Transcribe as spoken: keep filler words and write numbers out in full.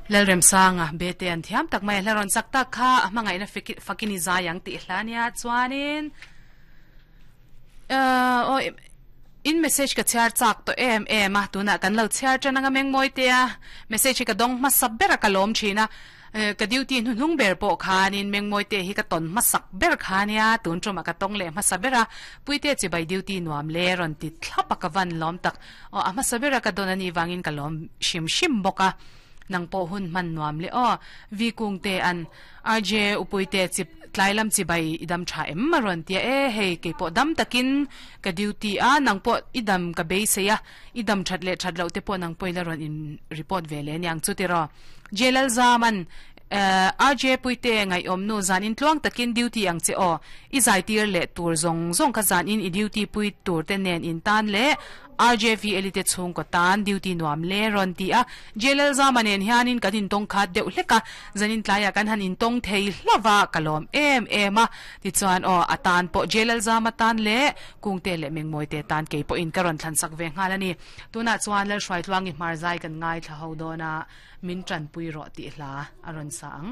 Lalremsanga bete an thiam tak mai hlaron sak tak kha a hmangaihna fakin i zai ang tih hla nia chuanin uh, o in message ka chhiar chak to em em a tuna kan lo chhiar than anga meng moi te a message ka dong ma sap bera ka lom thina ka duty nu hnung ber pawh khanin meng moi te hi ka ton ma sak ber khania tun tuma ka tong le ma sabera puite chi bai duty nuam le ron ti thlapa ka van lom tak o a ma sabera ka don ani wangin ka lom shim shim boka nang po hun man nuam le o vi kung te an rj upuite chip tlailam chi bai idam tha em maron tia e hei ke po dam takin ka duty a nang po idam ka be se ya idam that le that lo te po nang poila ron in report ve le nyang chu ti ro jelal zaman R J puite ngai om nu zan in tluang takin duty ang che o i zai tir le tur zong zong kha zan in i duty pui tur te nen in tan le R J V elite chung ko tan duty nuam le ron ti a jelal zamanen hianin kan in tong khat deuh hleka zanin tlaya kan han in tong thei hlawa kalom em em a ti chuan o atan po jelal zama tan le kungte le mengmoi te tan ke po in karon thlan sak ve ngal ani tuna chuan lal hruai tluangi hmar zai kan ngai thla ho dona min tran pui ro ti hla aron sa ang.